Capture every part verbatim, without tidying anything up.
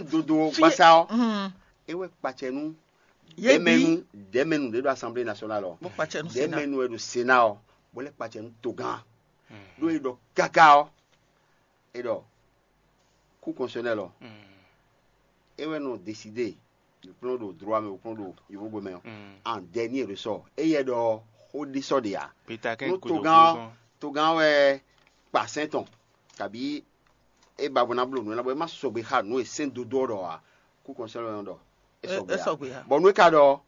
dodo gbasa ɔ́, é wɛ kpacɛ nú dɛmɛnu dɛmɛnu ɖé ɖo assemblée nationale ɔ, dɛmɛnu wɛ ɖo sénat ɔ, bó lɛ́ kpacɛ nú togán. Ɖó é ɖɔ káká ɔ́, é ɖɔ kú constitutionnel ɔ, é wɛ nɔ décidé, wǔkplɔ́n ɖo droit mɛ, wǔkplɔ́n ɖo yovógbe mɛ ɔ́, en dernier ressort. Éyɛ́ ɖɔ xó ɖé sɔ́ ɖe ǎ. Nú togán togán wɛ kpa sɛn tɔn, kabí é ba bó ná bló nǔ ná bɔ é má sɔgbe xá nǔ e sɛn dodó ɔ́ ɖɔ ǎ. Kú constitutionnel ɔ́ ɖɔ é sɔgbe ǎ. Bɔ nú é ka ɖɔ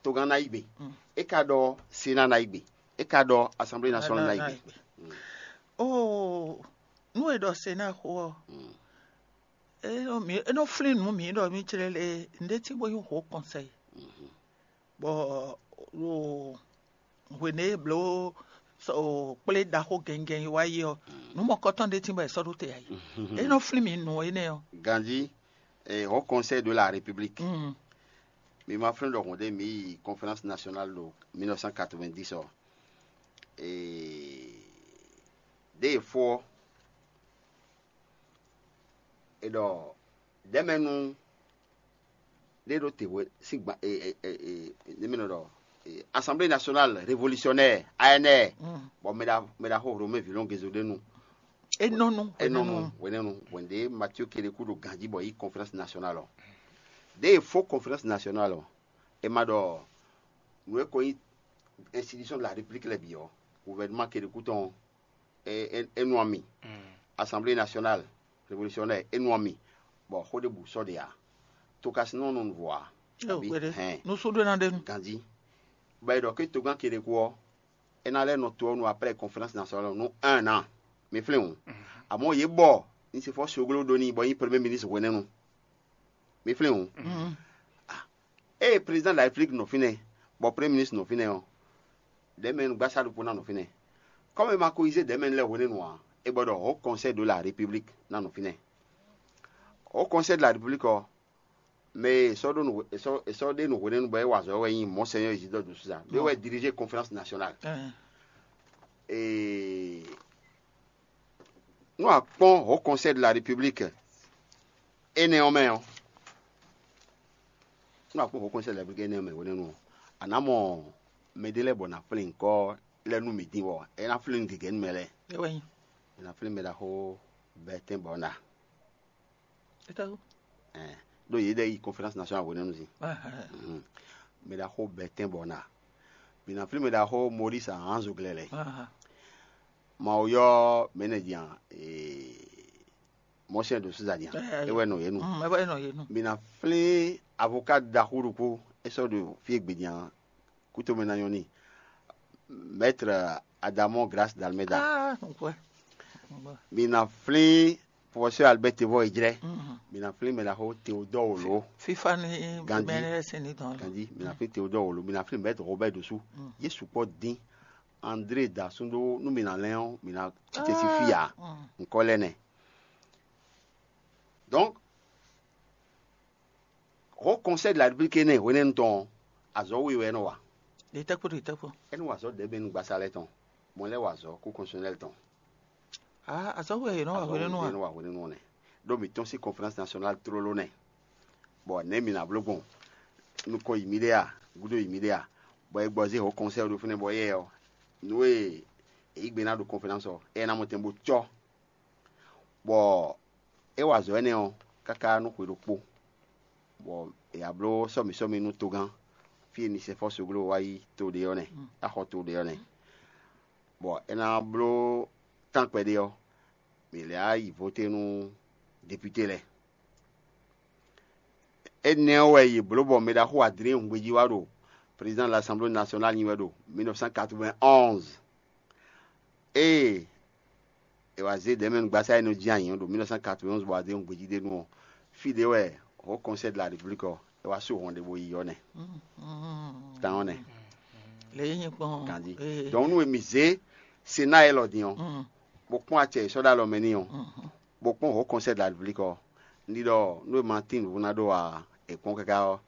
togán ná yí gbe, é ka ɖɔ sénat ná yí gbe, é ka ɖɔ assemblée nationale ná yí gbe. Oo, nú è ɖɔ sénat xó ɔ́, é nɔ flín nǔ mǐ ɖɔ mǐ jlɛ́ lé nǔɖé cí bó nyí hǒ kɔnsɛyi, bɔ ɖo hwěné e bló kplé ɖaxó gɛngɛn e wá yi ɔ́, nǔ mɔkɔtɔn ɖé cí bɔ è sɔ́ ɖó te ǎ yi. É nɔ flín mǐ nǔ énɛ́ ɔ́. Ganjí, eh, Haut Conseil de la République, mi ma flín ɖɔ hɔn ɖé mi yi conférence nationale ɖo mille neuf cent quatre-vingt-dix ɔ, eh, ɖěe fó ɔ́, è ɖɔ ɖɛ̌mɛnu ɖé ɖó te hwe sín gban e e e e ne mɛ nɔ ɖɔ e, Assemblée Nationale Révolutionnaire, A N R, bɔ mɛ ɖa mɛ ɖaxó Romain Villon Gezo ɖe nu. Enɔnu Enɔnu hwenɛnu hwɛnɖe Mathieu Kérékou ɖo ganji bɔ yi conférence nationale ɔ. Ɖe e fó conférence nationale ɔ, e ma ɖɔ nǔ e ko nyí institution de la République lɛ bǐ ɔ, gouvernement Kérékou tɔn é é é nu ami. Assemblée Nationale Révolutionnaire é nu ami, bɔ xó ɖěbǔ sɔ́ ɖe ǎ. Tokasinɔ nɔ nu vɔ ǎ. Abi hɛn nusúɖó ná ɖe nu. Ganji. Bɔ è ɖɔ ké togán Kérékou ɔ́, é ná lɛ́ nɔ to ɔ́ nu après conférence nationale nú un an. Mi flín hǔn. Amɔ̌ yě bɔ ní se fɔ soglo ɖó n'i bɔ nyí premier ministre hwenɛ́nu. Mi flín hǔn. Ée président de la République nɔ fínɛ́, bɔ premier ministre nɔ fínɛ́ ɔ́, dɛ̌mɛnu gbásá ɖokpó ná nɔ fínɛ́. Kɔ́mɛ ma ko yí zé dɛ̌mɛnu lɛ́ɛ hwenɛ́nu ǎ, é bɔ ɖɔ Haut Conseil de la République ná nɔ fínɛ́. Haut Conseil de la République ɔ́, mɛ e è sɔ́ ɖó nǔ è sɔ́ è sɔ́ ɖe nǔ hwenɛ́nu bɔ é wa azɔ̌ wɛ nyí Monseigneur Isidore de Souza, ɖé wɛ dirigé conférence nationale. Ee, nú a kpɔ́n Haut Conseil de la République énɛ́ ɔ́ mɛ ɔ́, nú a kpɔ́n Haut Conseil de la République énɛ́ ɔ́ mɛ hwenɛ́nu ɔ́, a nǎ mɔ mɛɖé lɛ́ɛ bɔ nǎ flín nyǐkɔ lɛ́ɛ nú mǐ din bɔ é ná flín gěgé nú mɛ lɛ́ɛ. É wɛ nyí. È nǎ flín mɛ ɖaxó Bertin Bɔna. Étɛ́wú? Ɛn, ɖó yě ɖɛ yi conférence nationale hwenɛ́nu sin. Mɛ ɖaxó Bertin Bɔna. Mǐ ná flín mɛ ɖaxó Maurice Ahanzo Glɛlɛ. Mawu yɔ mɛ nɛ din a? Mɔsɛn ɖo Suza din a? É wɛ nɔ yě nu. Mǐ ná flín avocat ɖaxó ɖokpó é sɔ́ ɖo fí e gbe din a? Kútomɛ ná nyɔ́ n'i. Maître Adamo Grâce d'Almeida. Mi na flín professeur Albert Tevɔ Ejrɛ. Mi na flín mɛ ɖaxó Théodore Wolo. Fifa ni Gandhi. Bɛnɛ sɛni dɔn. Gandhi, mi na flín Théodore Wolo, mi na flín Maître Robert Dosu. Yesu kpɔ dín. André da sun ɖó nú mi na lɛn ɔ́, mi na titɛ si fia. Nkɔ lɛ nɛ. Donc, Haut Conseil de la République énɛ́ hwenɛ́nu tɔn ɔ́, azɔ̌ we wɛ é nɔ wa. Ɖe tɛ́ kpó ɖe tɛ́ kpó. É nɔ wa azɔ̌ ɖěbǔ nu gbasa lɛ́ɛ tɔn, mɔ lɛ́ɛ wa azɔ̌ kú constitutionnel tɔn. Aa azɔ̌ we è nɔ wa hwenɛ́nu a? Azɔ̌ we è nɔ wa hwenɛ́nu nɛ. Ɖó mǐ tɔ́n sín conférence nationale tlóló nɛ. Bɔ nɛ̌ mǐ ná bló gbɔn? Nukɔn yi mǐɖée a? Gúdo yi mǐɖée a? Bɔ è gbɔ zé Haut Conseil ɖo fínɛ́ bɔ éyɛ́ ɔ́, nǔ e è yǐ gbe ná ɖo conférence ɔ́, éyɛ́ ná mɔ tɛn bó cɔ́. Bɔ é wa azɔ̌ énɛ́ ɔ́ káká nú xwe ɖokpó, bɔ è wǎ bló sɔ́mǐ sɔ́mǐ nú togán, fí e mi sɛ fɔ́ soglo wá yi to ɖé ɔ́ nɛ́, axɔ to ɖé ɔ́ nɛ́. Bɔ é ná bló tán kpɛɖé ɔ́, mǐ lɛ́ wá yi voté nú depúté lɛ́ɛ. Énɛ́ ɔ́ wɛ yě bló bɔ mɛ ɖaxó Adrien Hungbeji wá ɖo président de l'Assemblée nationale nyi wɛ ɖo mille neuf cent quatre-vingt-onze. Ée è wǎ zé ɖɛ̌mɛnu gbasá e nɔ jí anyǐ ɔ́ ɖo mille neuf cent quatre-vingt-onze bɔ Adrien Hungbeji ɖe nu ɔ́, fí ɖé wɛ Haut Conseil de la République ɔ́, é wá sú hɔn ɖé bó yi ɔ́ nɛ́. Tán ɔ́ nɛ́. Lě nyí kpɔ́n. Gandhi. Donc nú mi zé Sénat élɔ́ din ɔ́, bó kpɔ́n acɛ e sɔ́ ɖó alɔ mɛ n'i ɔ́, bó kpɔ́n Haut Conseil de la République ɔ́, un ɖi ɖɔ nú e ma tín nǔvú ná ɖó ǎ, è kpɔ́n káká ɔ́,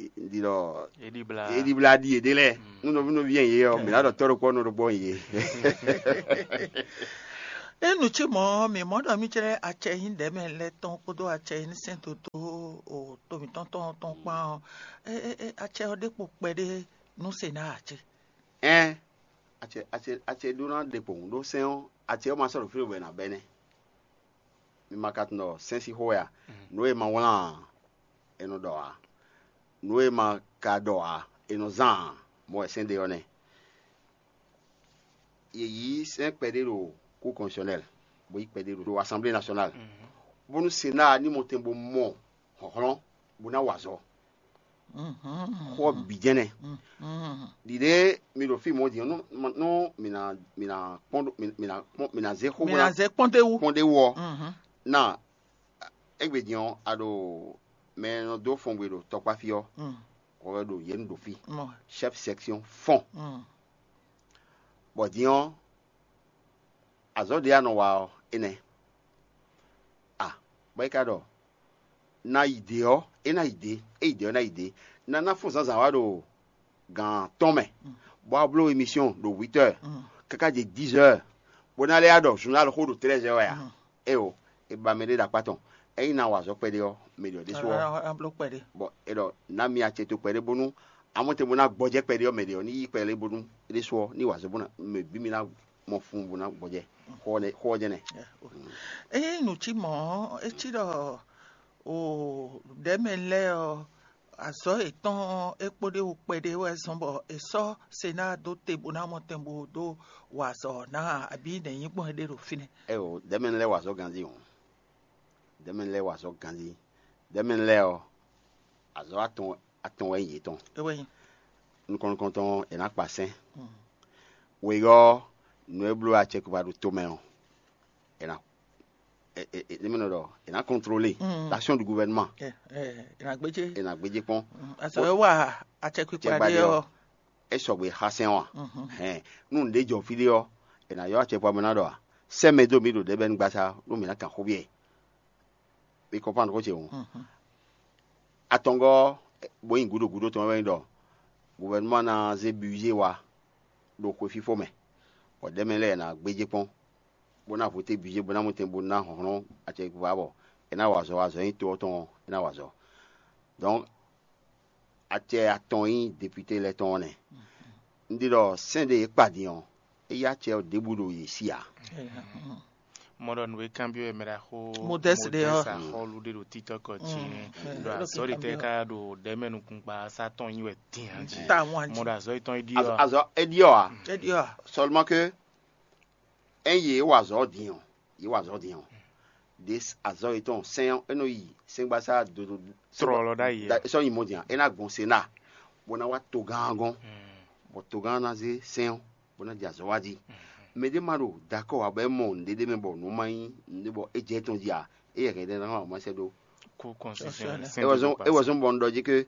un ɖi ɖɔ é ɖi blá ɖi yěɖée lɛ́ɛ. Nú nɔví nɔví yɛn yě ɔ́, mǐ ná ɖɔ tɔ́ ɖokpó ɔ́ nɔ ɖokpó yě. É nǔ cí mɔ̌, mǐ mɔ ɖɔ mì jlɛ́ acɛ e nyí ɖɛ̌mɛ lɛ́ɛ tɔn kpódó acɛ e nyí sɛ́n dodó o to mǐtɔn tɔn tɔn kpán ɔ́, é- é- é- acɛ ɔ́ ɖé kpo kpɛɖé nú se ná ǎ cé? Ɛn, acɛ acɛ acɛ ɖó ná ɖe kpowun ɖó sɛ́n ɔ́, acɛ ɔ́ ma sɔ́ ɖo fí ɖo bɔ è nǎ bɛ́ nɛ́. Mi ma ka tunwun ɖɔ sɛ́n sín xó wɛ a? Nǔ e ma wlán ǎ, è nɔ ɖɔ ǎ; nǔ e ma ka ɖɔ ǎ, è nɔ zán ǎ; mɔ̌ wɛ sɛ́n ɖe ɔ́ nɛ́. Yě yí sɛ́n kpɛɖé ɖo Cour constitutionnelle, bó yí kpɛɖé ɖo Assemblée nationale, bónú Sénat ní mɔ tɛn bó mɔ hlɔ̌nhlɔ́n bó ná wa azɔ̌. Xó ɔ́ bǐ jɛ́n nɛ́. Ɖiɖe mi ɖo fí mɔ̌ din ɔ́, nú nú mǐ ná mǐ ná kpɔ́n ɖó- mǐ ná kpɔ́n mǐ ná zé xó bó ná zɛ kpɔ́n ɖé wú. Kpɔ́n ɖé wú ɔ́, ná égbé din ɔ́, a ɖo mɛ e nɔ dó fɔngbe ɖo tɔkpá fí ɔ́, hwɛ wɛ ɖo yě nu ɖo fí, chef section fɔ́n. Bɔ din ɔ́, azɔ̌ ɖé a nɔ wa ɔ́, énɛ́ a? Bɔ é ka ɖɔ ná yi dě ɔ́, é ná yi dě; é yi dě ɔ́, é ná yi dě. Na ná fún zǎnzǎn wá ɖo gǎn tɔn mɛ, bɔ a bló emission ɖo huit heures káká jɛ dix heures, bó ná lɛ́ wá ɖɔ journal xó ɖo treize heures wɛ a? Éeǒ, è ba mɛɖé ɖo akpá tɔn. Ényí na wa azɔ̌ kpɛɖé ɔ́, mɛ ɖě ɔ́ ɖésú ɔ́, a bló kpɛɖé. Bɔ è ɖɔ ná mi acɛ to kpɛɖé bónú amɔ́ tɛn bó ná gbɔjɛ́ kpɛɖé ɔ́, mɛ ɖě ɔ́ ní yí kpɛɖé bónú é ɖésú ɔ́ ní wa azɔ̌ bó ná mɛ bǐ mi ná mɔ fun bó ná gbɔjɛ́ xó ɔ́ nɛ́- xó ɔ́ jɛ́n nɛ́. Ényí nǔ cí mɔ̌ ɔ́, é cí ɖɔ o ɖɛ̌mɛ lɛ́ɛ ɔ́, azɔ̌ yětɔn ɔ́, é kpóɖé wú kpɛɖé wɛ zɔ́n bɔ è sɔ́ Senáa dó te bó ná mɔ tɛn bó dó wa azɔ̌ ɔ́ ná ǎ, abǐ nɛ̌ nyí gbɔn é ɖe ɖo fínɛ́? Ɛ o, dɛ̌mɛnu lɛ́ɛ wa azɔ̌ ganjí hǔn. Dɛ̌mɛnu lɛ́ɛ wa azɔ̌ ganjí. Dɛ̌mɛnu lɛ́ɛ ɔ́, azɔ̌ atɔn atɔn wɛ nyí yětɔn. É wɛ nyí. Nukɔn nukɔntɔn ɔ́, è nǎ kpa sɛ́n. Wěyɔ́ nǔ e bló acɛkpikpa ɖo tomɛ ɔ́, è nǎ è- è- è- ní mɛ nɔ ɖɔ è nǎ contrôler l'action du gouvernement. Ɛ ɛ ɛ nà gbéjé. È nǎ gbéjé kpɔ́n. Azɔ é wà acɛkpikpa Cɛgba ɖé ɖé ɔ́, ɔ́. É sɔgbe xá sɛn ɔ́ a? Hɛn, nú nǔɖé jɔ fí ɖé ɔ́, è nǎ ylɔ́ acɛkpikpa mɛ ná ɖɔ a? Sɛ́ mɛ dó mǐ ɖo ɖěbɛ́nu gbasa nú mǐ ná kan xó byɔ́ ɛ. Mi kɔnpánu xó ce hǔn. Atɔngɔ́ bó nyí gǔdo gǔdo tɔn wɛ nyí ɖɔ gouvernement ná zé budget wá ɖo xwe fífó mɛ, bɔ ɖɛ̌mɛ lɛ́ɛ ná gbéjé kpɔ́n, bó ná voté budget, bó ná mɔtɛn, bó ná hlɔ́n acɛkpikpa, bɔ é ná wa azɔ̌, azɔ̌ nyí to ɔ́ tɔn ɔ́, é ná wa azɔ̌. Donc acɛ atɔn nyí député lɛ́ɛ tɔn ɔ́ nɛ́. Un ɖi ɖɔ sɛ́n ɖé e kpa din ɔ́, é yí acɛ ɔ́ ɖěbǔ ɖo yě sí ǎ. Mɔ ɖɔ nǔ e kanbyɔ́ wɛ mɛ ɖaxó Modeste ɖe ɔ́. Axɔ́lú ɖé ɖo títɔ́ kɔ jí nɛ́. Ɖɔ azɔ̌ ɖé tɛ́ ká ɖo ɖɛ̌mɛ nukúnkpa sá tɔn nyi wɛ dín jí. Mɔ ɖɔ azɔ̌ yětɔn é ɖi ɔ́. Azɔ̌ é ɖi ɔ́ ǎ. É ɖi ɔ́ ǎ. Seulement que ényí yě wa azɔ̌ din ɔ́, yě wa azɔ̌ din ɔ́, ɖě azɔ̌ yětɔn sɛn ɔ́, é nɔ yi sɛngbasá dodo Trɔlɔ ɖ'ayǐ ǎ. Sɔ́ nyi mɔ din ǎ, é ná gbɔn Sénat, bó ná wá togán ɔ́ gɔ́n, bɔ togán ɔ́ ná zé sɛn ɔ́, bó ná jɛ azɔ̌ wá jí. Mɛ ɖé ma ɖo dakɔ́ ǎ bɔ é mɔ nǔɖé ɖé mɛ bɔ nǔ ma nyí nǔɖé bɔ é jɛ tɔn jí ǎ, é yɛ hɛn ɖé ná ma sɛ́ ɖó. Kú constitutionnel. É wɛ zɔ́n é wɛ zɔ́n bɔ un ɖɔ jí ké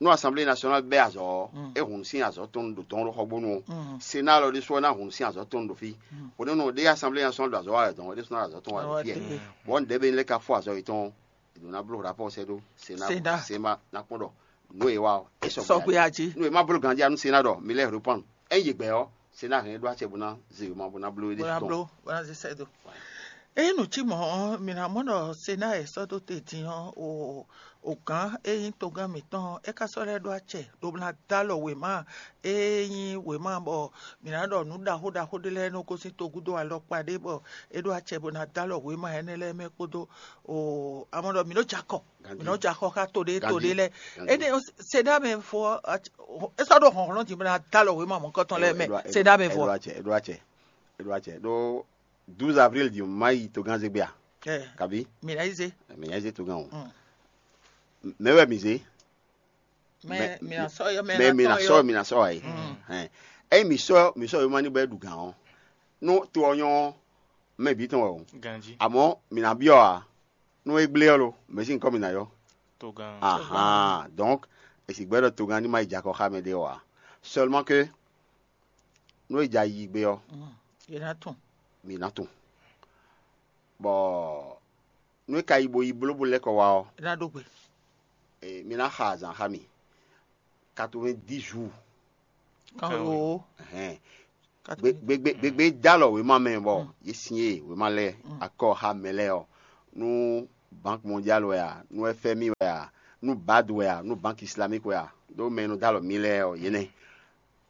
nú Assemblée nationale bɛ́ azɔ̌ ɔ́, é hun sín azɔ̌ tɔn ɖo tɔn ɖo xɔgbónu ɔ́. Sénat lɔ ɖésú ɔ́ ná hun sín azɔ̌ tɔn ɖo fí. Bó nɛ́ nɔ ɖé Assemblée nationale ɖo azɔ̌ wa wɛ dɔn, é ɖésú ná ɖo azɔ̌ tɔn wa ɖo fí ɛ. Bɔ un ɖɛ̌ bɛ lɛ́ ka fó azɔ̌ yětɔn ɔ́, è nɔ ná bló rapɔ́ sɛ́ ɖó Sénat. Sénat. Sénat ná kpɔ́n ɖɔ nǔ e wa ɔ́, é sɔgbe Sɔgbe jí. Jí. Nú è má bló ganjí ɔ́, nú Sénat ɖɔ mi lɛ́ reprendre. Ényí yě gbɛ́ ɔ́, Sénat hɛn ɖó acɛ bó ná zé wěma bó ná bló éɖée bó ná tɔn. Bló bó ná zé sɛ́ dó. Ényí nǔ cí mɔ̌ ɔ́, mǐ ná mɔ ɖɔ Sénat e sɔ́ dó te din ɔ́, o o gǎn e nyí togán mǐtɔn ɔ́, é ka sɔ́ lɛ́ ɖó acɛ ɖó ná dó alɔ wěma e nyí wěma bɔ mǐ ná ɖɔ nǔ ɖaxó ɖaxó ɖé lɛ́ɛ nɔ gosín togúdo alɔkpa ɖé bɔ é ɖó acɛ bó ná dó alɔ wěma énɛ́ lɛ́ɛ mɛ kpódó o amɔ ɖɔ mǐ nɔ jɛ akɔ mǐ nɔ jɛ akɔ xá to ɖé to ɖé lɛ́ɛ. Énɛ́ ɔ́, Sénat mɛ fó ɔ́, é sɔ́ ɖó hlɔ̌nhlɔ́n din bó ná dó alɔ wěma mɔ̌hunkɔtɔn lɛ́ɛ mɛ. Sénat mɛ fó ɔ́. È ɖó acɛ, è ɖó acɛ, è ɖó acɛ. Ɖó douze avril din má yi togán zé gbé a? Ɛ, Kabi? Mǐ ná yi zé. Mǐ ná yi zé togán o. Mm. Mɛ wɛ mǐ zé. Mɛ mǐ ná sɔ́ yɔ mɛ mɛ mǐ ná sɔ́ mǐ ná sɔ́ wá yi. Hɛn. Ényí mǐ sɔ́ mǐ sɔ́ yoma ní bɔ é ɖu gǎn ɔ́, nú to ɔ́ nyɔ́ ɔ́, mɛ bǐ tɔn wɛ o. Ganjí. Àmọ́ mǐ ná byɔ́ ǎ. Nú é gblé ɔ́ lo, mɛ̌ sín kɔ́ mǐ ná yɔ́? Togán. Ahan, donc è sì gbɛ́ ɖɔ togán ní má yi jɛ akɔ xá mɛ ɖé ɔ́ ǎ. Seulement que nú é jɛ ayi gbé ɔ́, Yě ná tún. Mǐ ná tunwun. Bɔ nú é ka yi bo yi bló bó lɛ́ kɔ wá ɔ́, É ná ɖó gbe. E, mi ná xa azǎn xá mì. Quatre-vingt-dix jours. Kan Kan wo. Ɛhɛn. Gbégbé dó alɔ wěma mɛ bɔ yě sin e wěma lɛ́ɛ akɔ xá mɛ lɛ́ɛ ɔ́, nú Banque Mondiale wɛ a, nú F M I wɛ a, nú bad wɛ a, nú Banque Islamique wɛ a, ɖó mɛ e nɔ dó alɔ mǐ lɛ́ɛ ɔ́, yě nɛ́.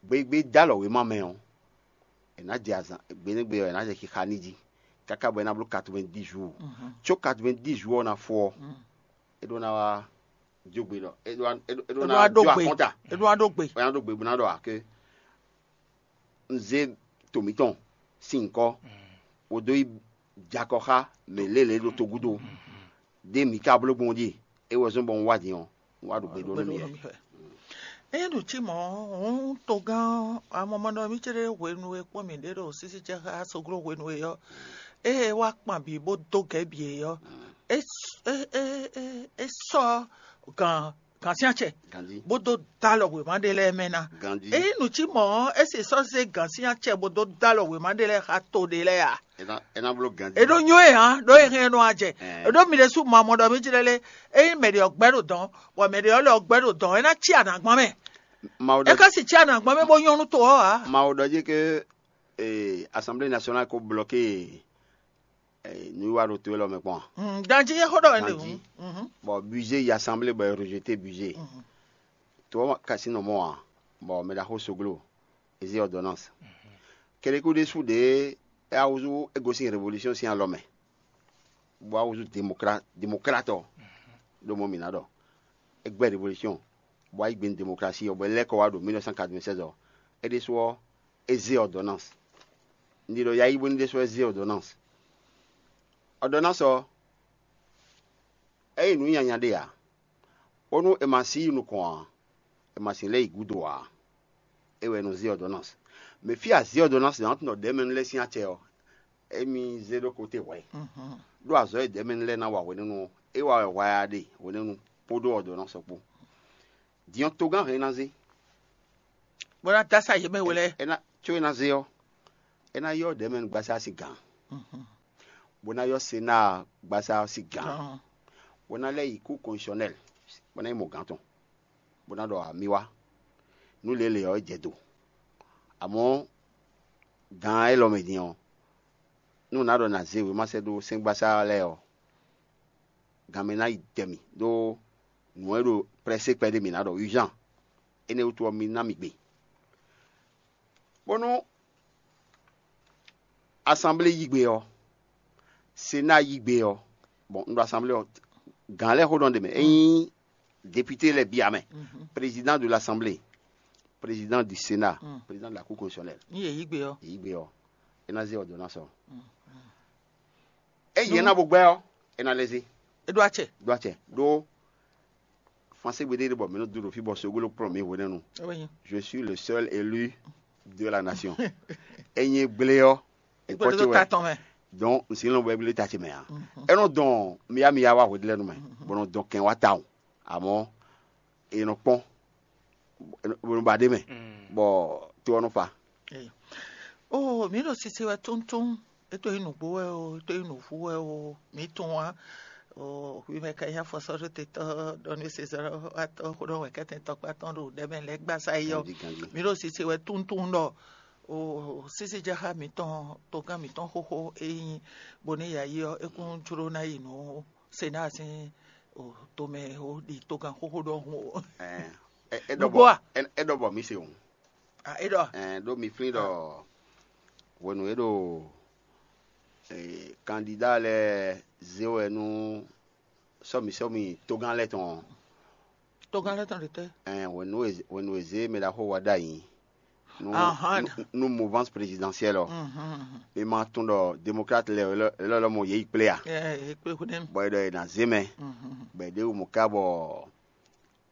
Gbégbé dó alɔ wěma mɛ ɔ́, è nǎ jɛ azǎn gbe nú gbe ɔ́, è nǎ jɛ xixa n'i jí káká bɔ é ná bló quatre-vingt-dix jours. Có quatre-vingt-dix jours ɔ́ ná fó ɔ́, é ɖó ná wá jó gbe ɖɔ é ɖó ná é ɖó ná jó akɔ́nta. É ɖó ná ɖó gbe. É ná ɖó gbe bó ná ɖɔ ǎ ké un zé to mǐtɔn sín nyǐkɔ, bó dó yi jɛ akɔ xá mɛ lělě ɖo togúdo. Ɖé mǐ ka bló gbɔn jí, é wɛ zɔ́n bɔ un wá din ɔ́, un wá ɖo gbe ɖó nú mì wɛ. Ényí ɖu cí mɔ̌, hǔn togán ɔ́, amɔmɔnɔ mì céɖé hwenu e kpɔ́n mǐ ɖe ɖo sísí ce xá soglo hwenu e ɔ́, ée é wá kpan bǐ bó dó gɛ̌ bǐ é ɔ́, é s- é é é é sɔ́ gǎn gǎnsyácɛ Ganji. Bó dó dó alɔ wěma ɖé lɛ́ɛ mɛ ná. Ganji. Ényí nǔ cí mɔ̌ ɔ́, é se sɔ́ zé gǎnsyácɛ bó dó dó alɔ wěma ɖé lɛ́ɛ xá to ɖé lɛ́ɛ ǎ. É ná é ná bló ganji. È ɖó nyó e hǎn ɖó e hɛn nɔ ajɛ. È ɖó mi ɖésú mɔ amɔ ɖɔ mí jlɛ́ lé. Ényí mɛ ɖě ɔ́ gbɛ́ ɖo dɔ̌n, bɔ mɛ ɖě ɔ́ lɛ ɔ́ gbɛ́ ɖo dɔ̌n, é ná cí anǎgbɔn mɛ. Mawu É ɖɔ ka si cí anǎgbɔn mɛ bó nyɔ́ nú to ɔ́ ǎ. Mawu ɖɔ jí ke eh, Assemblée nationale ko bloqué eh, nǔwiwa ɖo to élɔ́ mɛ kpɔ́n a? Mm, Ganji é xó ɖɔ wɛ ɖe Ganji. Hǔn. Mhm. Bon, budget yi assemblée bɔ è rejeté budget. To ɔ́ ka sín nɔ mɔ ǎ, bɔ mɛ ɖaxó Soglo, é zé ordonnance. Kɛɖékú ɖésú ɖě é wá húzú é gosín révolution sín alɔ mɛ, bó wá húzú démocrate démocrate ɔ́, ɖó mɔ mǐ ná ɖɔ é gbɛ́ révolution, bó wá yí gbe nú démocratie ɔ́, bɔ é lɛ́ kɔ wá ɖo mille neuf cent quatre-vingt-seize ɔ́, é ɖésú ɔ́, é zé ordonnance. Un ɖi ɖɔ yayí bónú ɖésú ɔ́ é zé ordonnance. Ordonnance ɔ́, é nyí nǔ nyanya ɖé ǎ. Bónú è ma si yi nukɔn ǎ, è ma si lɛ́ yi gúdo ǎ. É wɛ è nɔ zé ordonnance. Mɛ fí a zé ordonnance ná tunɔ ɖɛ̌mɛnu lɛ́ɛ sín acɛ ɔ́, émí zé ɖó kote hwɛ̌. Ɖó azɔ̌ e ɖɛ̌mɛnu lɛ́ɛ ná wa hwenɛ́nu ɔ́, é wa wɛ hwɛ a ɖe hwenɛ́nu kpódó ordonnance ɔ́ kpó. Din ɔ́, togán hɛn é ná zé. Bó ná dó asá yě mɛ we lɛ́ɛ. É ná có é ná zé ɔ́, é ná yɔ́ ɖɛ̌mɛnu gbasá sín gǎn, bó ná yɔ́ Senáa gbasá ɔ́ sín gǎn, bó ná lɛ́ yi kú kɔnsɔnɛ́l, bó ná yi mɔ gǎn tɔn, bó ná ɖɔ amì wá. Nú lě lě ɔ́, é jɛ do. Amɔ̌, gǎn élɔ́ mɛ din ɔ́, nú nǎ ɖɔ nǎ zé wěma sɛ́ dó sɛ́ngbasá lɛ́ɛ ɔ́, gan mɛ ná yi dɛ mì ɖó nǔ e ɖo prɛ́sé kpɛɖé mǐ ná ɖɔ urgent. Énɛ́ wútu ɔ́, mi ná mì gbe. Bónú asanblée yí gbe ɔ́, Senáa yí gbe ɔ́, bon, un ɖo asanblée ɔ́, gǎn lɛ́ɛ xó ɖɔ ɖe mɛ. É nyí député lɛ́ɛ bia mɛ, président de l'assemblée, président du Sénat, président de la cour constitutionnelle. Ní yě yí gbe ɔ́, Yě yí gbe ɔ́, é ná zé ordonnance ɔ́. Ényí é ná bo gbɛ́ ɔ́, é ná lɛ́ zé. É ɖó acɛ. Ɖó acɛ ɖó Français gbe ɖé ɖe bɔ mǐ nɔ dó ɖo fí bɔ Sogolo kplɔ́n mǐ hwenɛ́nu. É wɛ nyí. Je suis le seul élu de la nation. Ényí é gblé ɔ́, é Gbé kpɔ́ ɖó ce wɛ. Ta tɔn mɛ. Donc, un si lɔn bɔ é gblé ta ce mɛ ǎ. É nɔ dɔn mía mía wá hweɖélɛ́nu mɛ, bɔ nɔ dɔn kɛn wá tawun. Amɔ̌, è nɔ kpɔ́n, bɔ nɔ ba ɖ'é mɛ, bɔ to ɔ́ nɔ fa. Eyo. Oo, mǐ ɖo sise wɛ tóntón. É tó nyí nǔgbó wɛ o, é tó nyí nǔvú wɛ o, mǐ tunwun ǎ. Oo, hwi mɛ ka nyí afɔsɔ́ɖótetɔ́ ɖɔ nú sezɔ́watɔ́ xó ɖɔ wɛ̌kɛ́tɛn tɔkpá tɔn ɖo ɖɛ̌ mɛ lɛ́ɛ gbasá yi ɔ́. Ganjí, ganjí. Mǐ ɖo sise wɛ tóntón ɖɔ oo, sísíjaxá mǐtɔn, togán mǐtɔn xóxó e nyí Boniyayi ɔ́, é kún jló ná yi nǔ Senáa sín o tomɛ ó ɖi togán xóxó ɖɔhun o. Ɛɛ, é é ɖɔ Nǔgbó bɔ a? É é ɖɔ bɔ mǐ se o. A é ɖɔ. Ɛɛ, ɖó mi flín ɖɔ hwenu e ɖo ee, kandida lɛ́ɛ zé wɛ nú sɔ́mi sɔ́mi togán lɛ́ɛ tɔn ɔ́, Togán lɛ́ɛ tɔn ɖe tɛ́? Ɛɛ, hwenu e hwenu e zé mɛ ɖaxó wa ɖ'ayǐ nú Ahán. Nú- nú mouvance présidentielle ɔ́, Mhm, mhm. Mi ma tunwun ɖɔ démocrate lɛ́ɛ lɔ lɔ mɔ yě yi kplé a? Ɛɛ, é kplé xó nɛ́. Bɔ é ɖɔ è nǎ zé mɛ, Mhm, mhm. Bɔ è ɖě wú mɔ̌ ká bɔ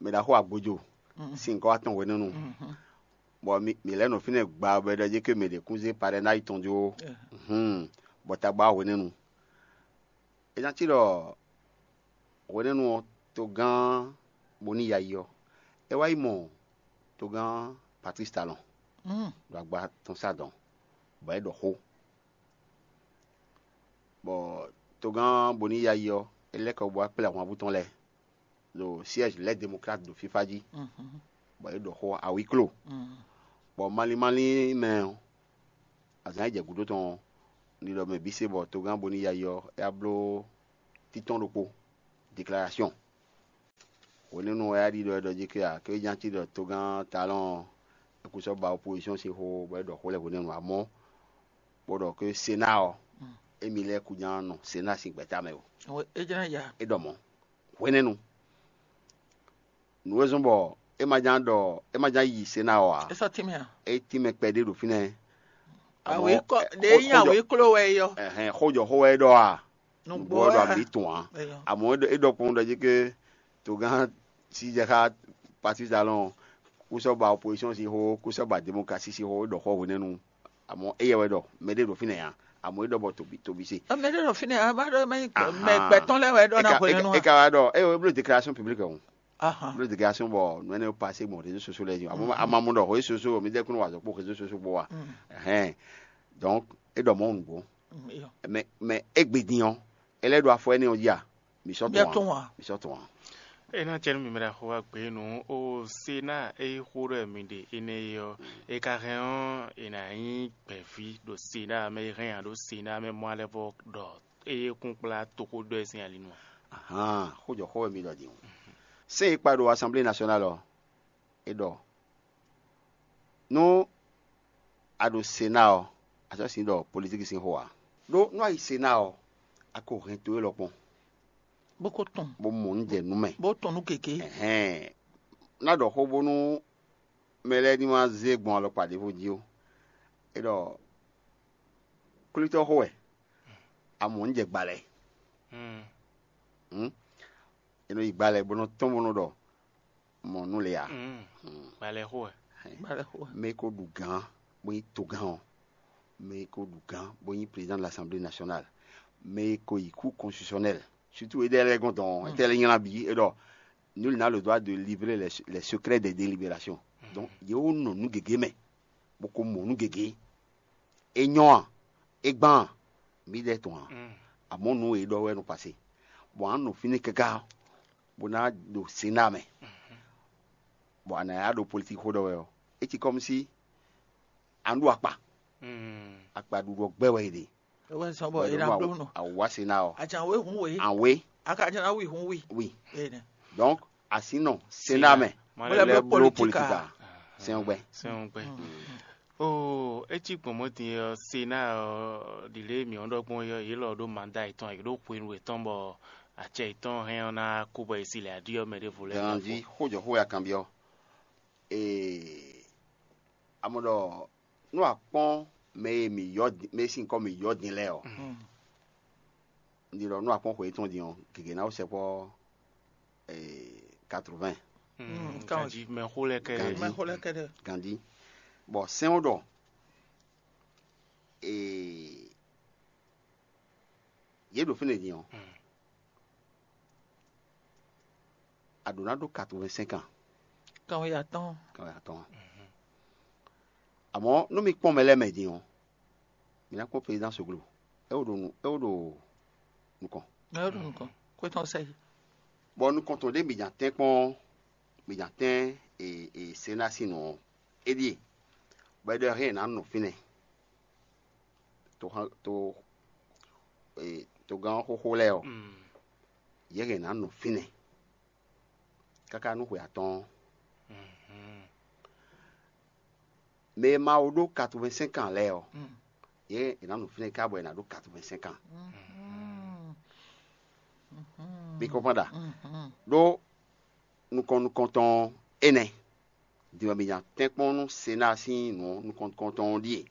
mɛ ɖaxó Agbojo Mhm. Sín nyǐkɔ wá tɔn hwenɛ́nu. Mhm. Bɔ mi mǐ lɛ́ nɔ fínɛ́ gba bɔ è ɖɔ jí ké mɛ ɖě kún zé parɛ́náyi tɔn jó. Yeah. Hǔn, bɔ tagba wá hwenɛ́nu. É ná cí ɖɔ hwenɛ́nu ɔ́, togán Boniyayi ɔ́, é wá yi mɔ togán Patrice Talon Mm. Ɖo agba tɔn sá dɔn, bɔ é ɖɔ xó. Bɔ togán Boniyayi ɔ́, é lɛ́ kɔ bó wá kplé ahwanvú tɔn lɛ́ɛ ɖo siège Les Démocrates ɖo fífá jí, Mhm. Bɔ é ɖɔ xó awǐklo. Mhm. Bɔ malín malín mɛ ɔ́, azǎn e jɛ gǔdo tɔn ɔ́, un ɖi ɖɔ mɛ bǐ se bɔ togán Boni Yayi ɔ́, é wá bló títɔ́n ɖokpó, declaration. Hwenɛ́nu wɛ é wá ɖi ɖɔ é ɖɔ jí ké a, ké é nya cí ɖɔ togán Talɔn ɔ́, é kú sɔ́ ba opozisɔ́n sín xó bɔ é ɖɔ xó lɛ́ɛ hwenɛ́nu, amɔ̌ bó ɖɔ ké Sená ɔ́, émí lɛ́ɛ kú nya nɔ Sená sín gbɛ̌ta mɛ o. É jlɛ́ ya. É ɖɔ mɔ̌. Hwenɛ́nu. Nǔ e zɔ́n bɔ é ma ján ɖɔ é ma ján yi Sená ɔ́ ǎ. É sɔ́ tínmɛ a? É tínmɛ kpɛɖé ɖo fínɛ́. Àmọ́, Awě kɔ ɛ, ɖě xó- nyí xójɔ- awě kló wɛ é yɔ. Ɛhɛn, xójɔxó wɛ é ɖɔ a? Nǔgbó Nǔgbó wɛ wɛ ɖɔ a? Àbí tɔn ǎ. Eyɔ. Àmọ́ é ɖɔ- é ɖɔ kpɔ́n ɖɔ jí ké togán sí jɛ xá Patrice Talon kú sɔ́ ba opozisɔn sín xó, kú sɔ́ ba démokrasi sín xó, é ɖɔ xó hwenɛ́nu. Àmọ́ éyɛ́ wɛ ɖɔ mɛɖé ɖo fínɛ́ ǎ. Àmọ́ é ɖɔ bɔ tobi tobi se. Ɔ, mɛ ɖé ɖo fínɛ́ a, ba ɖɔ mɛ Ahan. Mɛ gbɛtɔ́ lɛ́ɛ wɛ ɖɔ ná Eka- hwenɛ́nu eka- a? Eka wá ɖɔ é wɛ bló déclaration publique ɔ́. Ahan. Bló déclaration bɔ nǔ énɛ́ passé gbɔn réseau sociaux lɛ́ɛ jí. Àmọ́ Mhm. àmọ́ mɔ ɖɔ réseau sociaux mi dɛkun wà zɔ kpó réseau sociaux gbɔ wa. Mhm. Ɛhɛn. Donc é ɖɔ mɔ nǔgbó. Mm, eyɔ. Mais mais égbé din ɔ́, é lɛ́ ɖo afɔ énɛ́ ɔ́ jí a? Mi sɔ́ Bien tɔn tɔn wa. Wa. Mi sɔ́ tɔn wa. É ná cɛ nú mi mɛ ɖaxó wa gbě nǔ ó Sená e xó ɖɔ mi ɖe énɛ́ é ɔ́, é ka hɛn ɔ́, è nǎ nyí gbɛ̌ví ɖo Sená mɛ e hɛn ǎ ɖo Sená mɛ mɔ alɛ vɔ ɖɔ é kún kplá toxóɖɔ ɛ sín ali nu a? Ahan, xójɔxó wɛ mi ɖɔ din o. Sɛ́n e kpa ɖo Assemblée nationale ɔ́, é ɖɔ nú a ɖo Sená ɔ́, a sɔ́ sin ɖɔ politíki sín xó ǎ. Ɖó nú a yi Sená ɔ́, a ko hɛn to élɔ́ kpɔ́n, Bó ko tɔn. Bó mɔ nǔ jɛ nú mɛ. Bó tɔn nú gěgé. Ɛhɛn, ná ɖɔ xó bónú mɛ lɛ́ɛ ní ma zé gbɔn alɔkpa ɖěvo jí ó. É ɖɔ kwlítɔ́ xó wɛ, a mɔ nǔ jɛ gbalɛ. Hmm. Hǔn, è nɔ yi gbalɛ bó nɔ tɔ́n bó nɔ ɖɔ mɔ nú le ǎ. Gbalɛ xó wɛ. Gbalɛ xó wɛ. Mɛ e ko ɖu gǎn bó nyí togán ɔ́, mɛ e ko ɖu gǎn bó nyí président de l'Assemblée nationale, mɛ e ko yi cour constitutionnelle, surtout éɖɛ́ lɛ́ɛ gɔ́n dɔn, étɛ́ lɛ́ nylá bǐ é ɖɔ nul n'a le droit de livrer les, les secrets des délibérations. Donc yě wó nɔ nǔ gěgé mɛ, bó ko mɔ nǔ gěgé. É nyɔ́ a? É gbán a? Mǐ ɖɛ tɔn a? Amɔ̌ nǔ e é ɖɔ wɛ nɔ pasé, bɔ a nɔ fínɛ́ káká bó ná ɖo Sená mɛ, bɔ a nǎ yá ɖo politíki xó ɖɔ wɛ ɔ́, é cí kɔ́mú sí a nǔ ɖo akpa. Akpa ɖuɖu ɔ́ gbɛ wɛ è ɖe. É wɛ zɔ́n bɔ Bɔ è è nǎ nɔ bló nǔ. Awǎ Sená ɔ́, Ajan wé hun wé. An wé A ka jɛ ná wi hun wi. Wi. Ene. Donc a sì nɔ Sená mɛ. Mo lɛ́ bló politika. Sɛn gbɛ. Sɛn gbɛ. Oo, é cí gbɔn mɔ̌ din ɔ́, Sená ɔ́, ɖi lě mǐ ɔ́ ɖɔ gbɔn ɔ́, yě lɔ ɖó manda yětɔn, yě ɖó hwenu yětɔn bɔ acɛ yětɔn hɛn ɔ́ ná kú bɔ è si lɛ aɖí ɔ́ mɛ ɖěvo lɛ́ɛ. Ganji xójɔxó ya kanbyɔ́. Ee, amɔ ɖɔ nú a kpɔ́n mɛ e mǐ yɔ din, mɛ e sín kɔ mǐ yɔ din lɛ́ɛ ɔ́, un ɖi ɖɔ nú a kpɔ́n xwe yětɔn din ɔ́, gěgé ná wó sɛkpɔ́ quatre-vingts. Ganji mɛxó lɛ́ɛ kɛ́ɖɛ́. Ganji. Mɛxó lɛ́ɛ kɛ́ɖɛ́. Ganji. Bɔ sɛ́n ɔ́ ɖɔ ee, yě ɖo fínɛ́ din ɔ́, a ɖǒ ná ɖó quatre-vingt-cinq ans. Kanwe atɔ́ɔ́n. Kanwe atɔ́ɔ́n. Amɔ̌ nú mi kpɔ́n mɛ lɛ́ɛ mɛ din ɔ́, mi ná kpɔ́n président Soglo. É wó ɖo nǔ é wó ɖo nukɔn. Ɛ ɖo nukɔn. Kwetɔn sɛ yi. Bɔ nukɔn tɔn ɖé mi nya tɛ́n kpɔ́n, mi nya tɛ́n e e Sená sín nǔ ɔ́, é ɖíe, bɔ é ɖɔ hɛn è nǎ nɔ fínɛ́. To to e togán xóxó lɛ́ɛ ɔ́, yě hɛn è nǎ nɔ fínɛ́ káká nú xwe atɔ́ɔ́n. Mɛ e ma wo ɖó quatre-vingt-cinq ans lɛ́ɛ ɔ́, yě è nǎ nɔ fínɛ́ ká bɔ è nǎ ɖó quatre-vingt-cinq ans. Mi kɔ́npɔ́n ɖa? Ɖó nukɔn nukɔntɔn énɛ́. Din ɔ́, mi nya tɛ́nkpɔ́n nú Sená sín nǔ nukɔn nukɔntɔn ɔ́ ɖíe.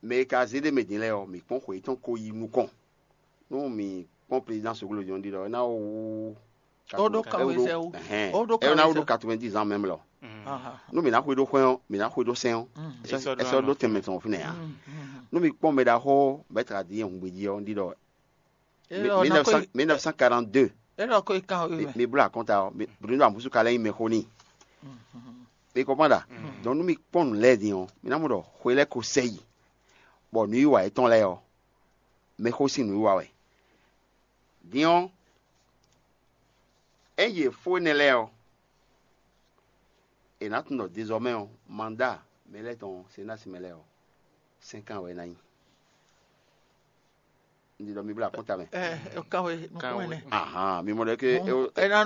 Mɛ e ka zé ɖ'é mɛ din lɛ́ɛ ɔ́, mǐ kpɔ́n xwe yětɔn ko yi nukɔn. Nú mǐ kpɔ́n président Soglo din ɔ́ ɖi ɖɔ é ná wú Ó ɖó kanwezɛ́wú. Ó ɖó é ná wú ɖó kanwezɛ́wú. Quatre-vingt-dix ans même lɔ. Nú mǐ ná xwedó xwɛ́n ɔ́, mǐ ná xwedó sɛ́n ɔ́. É sɔ́ ɖó tɛnmɛ tɔn fínɛ́ ǎ. Nú mi kpɔ́n mɛ ɖaxó Maître Adrien Hungbeji ɔ́, un ɖi ɖɔ mille neuf cent quarante-deux. É lɔ ko yi kan wěwé mɛ. Mi bló akɔnta ɔ́, Bruno Amusu ka lɛ́ nyí mɛxó n'i. Mi kɔnpɔn ɖa? Donc nú mi kpɔ́n nǔ lɛ́ɛ din ɔ́, mi ná mɔ ɖɔ xwe lɛ́ɛ ko sɛ yi, bɔ nǔwiwa yětɔn lɛ́ɛ ɔ́, mɛxó sín nǔwiwa wɛ. Din ɔ́, ényí yě fó énɛ́ lɛ́ɛ ɔ́, è nǎ tunwun ɖɔ dézɔmɛ ɔ́, manda mɛ lɛ́ɛ tɔn Senási mɛ lɛ́ɛ ɔ́, Cinq ans wɛ é ná nyí. Un ɖi ɖɔ mi blá akɔ́nta mɛ. Ɛ, kan wɛ nukún Kan wɛ. Ɛnɛ. Ahan, mi mɔ ɖɔ ke Ɛ ná